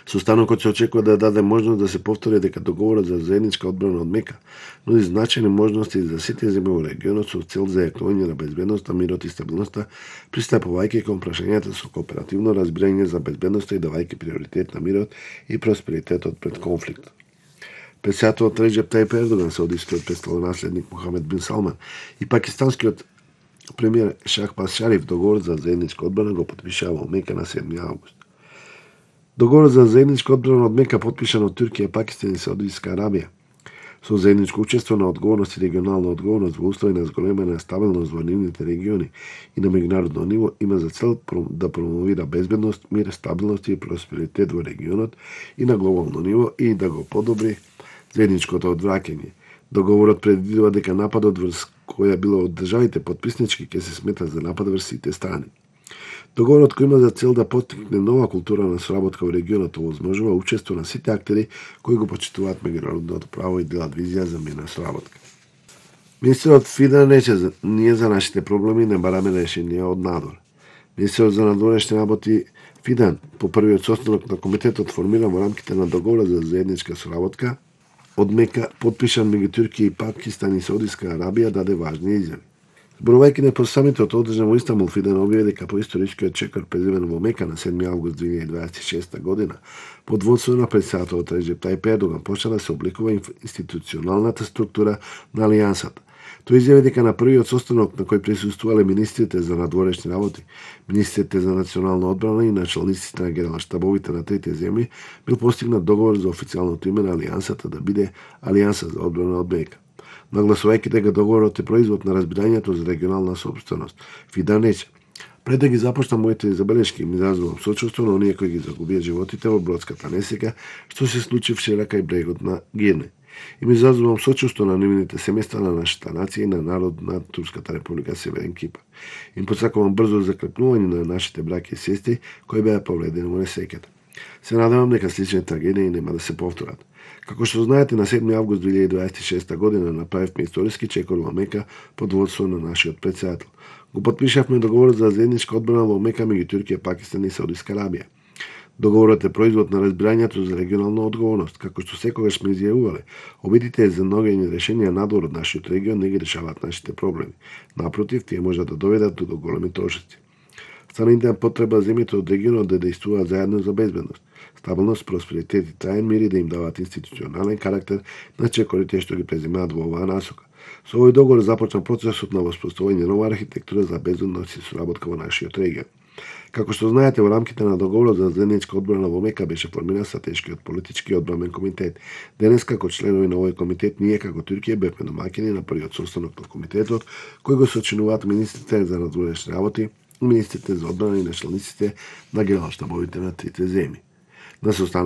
Состанокот се очекува да даде можност да се повтори дека договорот за заедничка одбрана од Мека нуди значајни можности за сите земји во регионот со цел за зајакнување на безбедноста, мирот и стабилноста, пристапувајќи кон прашањата со кооперативно разбирање за безбедноста и давајќи приоритет на мирот и просперитетот пред конфликт. Председателот Реджеп Тајип Ердоган, саудискиот престолонаследник Мохамед бин Салман и пакистанскиот премиер Шахбаз Шариф договор за заедничка одбрана го потпишаа во Мека на 7 август. Договорот за заедничка одбрана од Мека потпишан од Туркија, Пакистан и Саудиска Арабија со заедничко учество на одговорност и регионална одговорност во услови на зголемена стабилност во нивните региони и на меѓународно ниво има за цел да промовира безбедност, мир, стабилност и просперитет во регионот и на глобално ниво и да го подобри заедничкото одвраќање. Договорот предвидува дека нападот врз која било од државите потписнички ќе се смета за напад врз сите страни. Договорот кој има за цел да поттикне нова култура на соработка во регионот овозможува учество на сите актери кои го почитуваат меѓународното право и делат визија за мирна соработка. Министерот Фидан рече: ние за нашите проблеми не бараме решенија од надвор. Министерот за надворешни работи Фидан по првиот состанок на комитетот формиран во рамките на договорот за заедничка соработка од Мека, подпишан меѓу Туркија и Пакистан и Саудиска Арабија, даде важни изјави. Зборувајќи на самитот одржан во Истанбул, Фидан објави дека по историскиот чекор преземен во Мека на 7 август 2026 година, под водство на председателот Реджеп Тајип Ердоган почна да се обликува институционалната структура на алијансата. Тој изјави дека на првиот состанок на кој присуствувале министрите за надворешни работи, министрите за национална одбрана и началниците на генерал-штабовите на трите земји бил постигнат договор за официјалното име на алијансата да биде Алијанса за одбрана од Мека. Нагласувајќи дека договорот е производ на разбирањето за регионална собственост, Фидан рече: пред да ги започнам моите забелешки, ми изразувам сочувство на оние кои ги загубија животите во бродската несреќа што се случи вчера кај брегот на Гирне. И ми изразувам сочувство на нивните семејства, на нашата нација и на народ на Турската република Северен Кипар. Им посакувам брзо закрепнување на нашите браќи и сестри кои беа повредени во несреќата. Се надевам дека слични трагедии нема да се повторат. Како што знаете, на 7 август 2026 година направивме историски чекор во Мека под водство на нашиот председател. Го потпишавме договорот за заедничка одбрана во Мека меѓу Туркија, Пакистан и Саудиска Арабија. Договорот е производ на разбирањето за регионална одговорност, како што секогаш сме изјавувале. Обидите за наоѓање решенија надвор од нашиот регион не ги решаваат нашите проблеми. Напротив, тие можат да доведат до големи трошоци. Страните потреба земјите од регионот да дејствуваат заедно за безбедност, стабилност, просперитет и траен мир и да им даваат институционален карактер на чекорите што ги преземаат во оваа насока. Со овој договор започна процесот на воспоставување нова архитектура за безбедност и соработка во нашиот регион. Како што знаете, во рамките на договорот за заедничка одбрана во Мека беше формиран стратешкиот политички одбранен комитет. Денес, како членови на овој комитет, ние како Туркија бевме домаќини на првиот состанок на комитетот, кој го сочинуваат министрите за надворешни работи, министрите за одбрана и началниците на генерал-штабовите на трите земји. На состанок